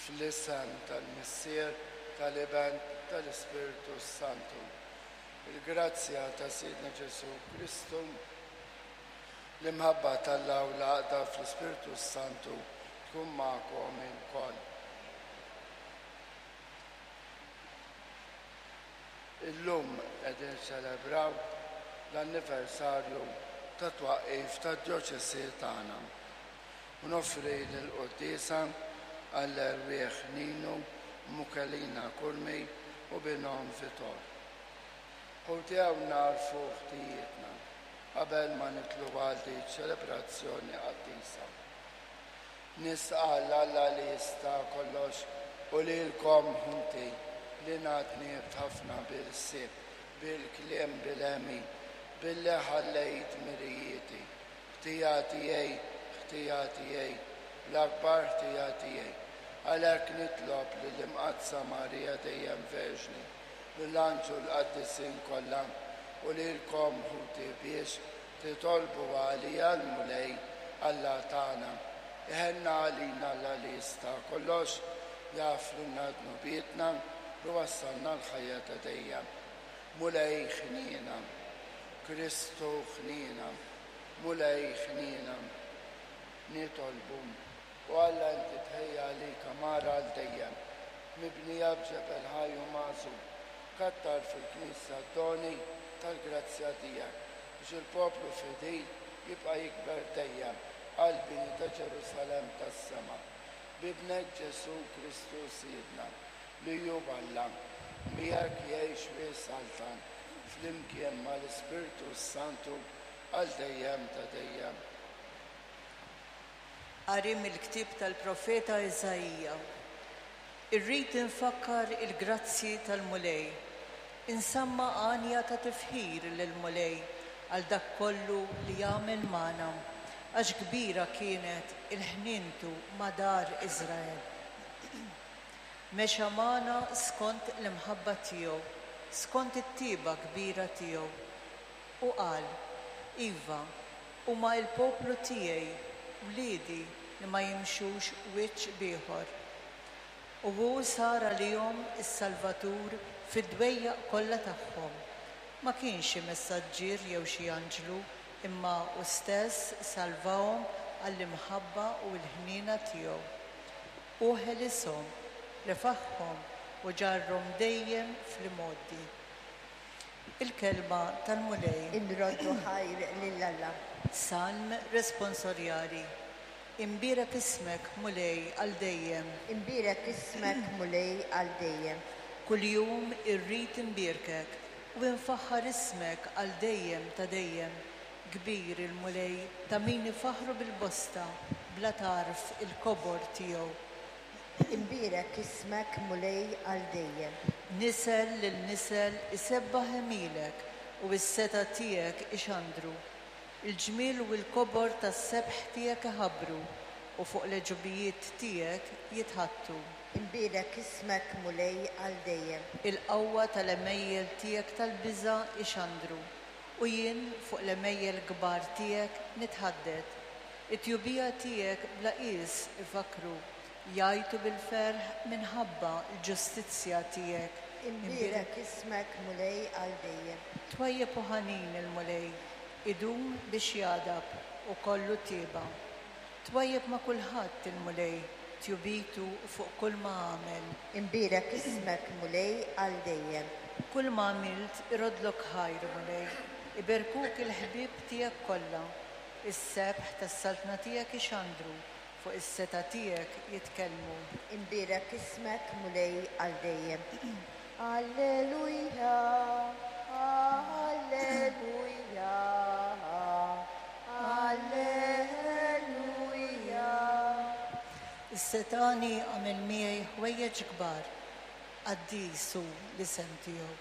Fl-isem tal-Missier, tal-Iben, tal-Ispirtu s-Santu. Il-grazzja ta' Sidna Ġesù Kristu, l-imħabba t'Alla u l-għaqda fl-Ispirtu s-Santu tkun magħkom ilkoll. Illum qegħdin niċċelebraw l-anniversarju tat-twaqqif tad-djoċesi tagħna. U noffri l-quddiesa għall-erwieħ Ninu u Mukelina Curmi u binhom Vitor. Ħuti hawn nagħrfu ħtijietna qabel ma nidħlu għal din ċ-ċelebrazzjoni qaddisa. Nistqarr Alla li jista' kollox u lilkom ħuti li ngħadnibt ħafna bil-ħsieb, bil-kliem, bil-għemil, billi ħallejt dmirijieti. Ħtija tiegħi, ħtija tiegħi, l-akbar ħtija tiegħi. Għalhekk nitlob lill-Imqaddsa Marija dejjem Verġni, lill-anġlu l-qaddisin kollha u lilkom ħuti biex titolbu għalija l-Mulej Alla tagħna. Iħenna għalina Alla li jista' kollox, jaħfrilna dnubietna u jwassalna l-ħajja ta' dejjem. Mulej ħniena. Kristu ħniena. Mulej ħniena. Nitolbu. O Alla inti tħejji għalik għamara għal dejjem, mibnija b'ġebel ħaj u magħżul. Kattar fil-Knisja d-doni tal-grazzja tiegħek, biex il-poplu fidil jibqa' jikber dejjem għall-bini ta' Ġerusalemm tas-sema. B'Ibnek Ġesù Kristu Sidna, li hu Alla, miegħek jgħix u jsaltan flimkien mal-Ispirtu s-Santu għal dejjem ta' dejjem. Qari mill-ktieb tal-profeta Iżaija. Irrid infakkar il-grazzji tal-Mulej, insamma' għanja ta' tifħir lill-Mulej għal dak kollu li għamel magħna, għax kbira kienet il-ħnientu ma' dar Iżrael. Mexa magħna skont l-imħabba tiegħu, skont it-tieba kbira tiegħu. U qal, Iva, huma l-poplu tiegħi, wliedi li ma jimxux wiċċ b'ieħor. U hu sar għalihom is-Salvatur fid-dwejjaq kollha tagħhom. Ma kienx xi messaġġier jew xi anġlu, imma hu stess salvahom għall-imħabba u l-ħniena tiegħu. Hu ħelishom, refagħhom u ġarrhom dejjem fl-imgħoddi. Il-Kelma tal-Mulej. Inroddu ħajr lil Alla. Salm responsorjali. Imbierek ismek, Mulej, għal dejjem. Imbierek ismek, Mulej, għal dejjem. Kuljum irrid imbierkek u infaħħar ismek għal dejjem ta' dejjem. Kbir il-Mulej, ta' min ifaħħru bil-bosta, bla tarf il-kobor tiegħu. Imbierek ismek, Mulej, għal dejjem. Nisel lil nisel isebbaħ għemilek u s-setgħa tiegħek ixandru. Il-ġmiel u l-kobor tas-sebħ tiegħek iħabbru, u fuq l-għeġubijiet tiegħek jitħaddtu. Imbierek ismek, Mulej, għal dejjem. Il-qawwa tal-għemejjel tiegħek tal-biża' ixandru, u jien fuq l-għemejjel kbar tiegħek nitħadded. It-tjubija tiegħek bla qies ifakkru, jgħajtu bil-ferħ minħabba l-ġustizzja tiegħek. Imbierek ismek, Mulej, għal dejjem. Twajjeb u ħanin il-Mulej, idum biex jagħdab u kollu tieba. Twajjeb ma' kulħadd il-Mulej, tjubitu fuq kulma għamel. Imbierek ismek, Mulej, għal dejjem. Kulma għamilt iroddlok ħajr, Mulej, iberkuk il-ħbieb tiegħek kollha. Is-sebħ tas-saltna tiegħek ixandru, fuq is-setgħa tiegħek jitkellmu. Imbierek ismek, Mulej, għal dejjem. Alleluja, alleluja, alleluja. Is-setgħani għamel miegħi ħwejjeġ kbar, qaddis hu l-isem tiegħu.